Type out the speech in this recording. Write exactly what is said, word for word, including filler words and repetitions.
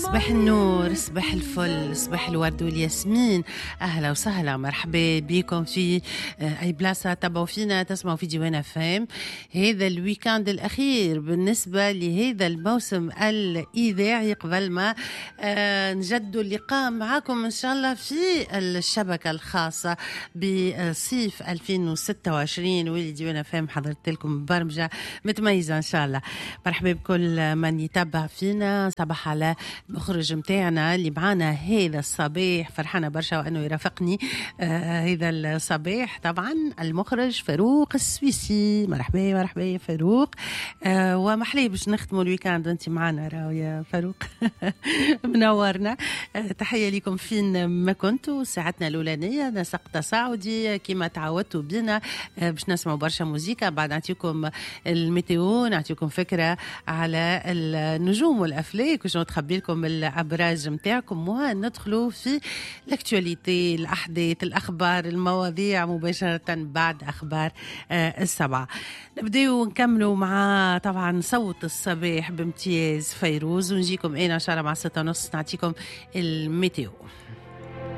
صباح النور، صباح الفل، صباح الورد والياسمين. اهلا وسهلا، مرحبا بكم في آه، اي بلاصة تبعوا فينا، تسمعوا في ديوان اف ام. هذا ال week-end الاخير بالنسبة لهذا الموسم الاذاعي قبل ما آه، نجدوا اللقاء معكم ان شاء الله في الشبكة الخاصة بصيف ألفين وستة وعشرين، واللي ديوان اف ام حضرت لكم برمجة متميزة ان شاء الله. مرحبا بكل من يتبع فينا. صباح على المخرج متاعنا اللي معانا هذا الصباح، فرحانة برشا وأنه يرافقني آه هذا الصباح، طبعا المخرج فاروق السويسي. مرحبا مرحبا يا فاروق، آه ومحلي باش نختموا ال week-end وانت معنا راهو يا فاروق، منورنا. آه تحية لكم فين ما كنتوا. ساعتنا الأولانية نسق تصاعدي كما تعودتوا بنا، آه باش نسمعوا برشا موزيكا، بعد نعطيكم ال météo، نعطيكم فكرة على النجوم والأفلاك وشنو تخبي لكم الابراج نتاعكم، وندخلوا في l'actualité، الاحداث، الاخبار، المواضيع مباشرة بعد اخبار آه، السبعه. نبداو ونكملوا مع طبعا صوت الصباح بامتياز فيروز، ونجيكم انا ان شاء الله مع ستة ونص نعطيكم ال météo.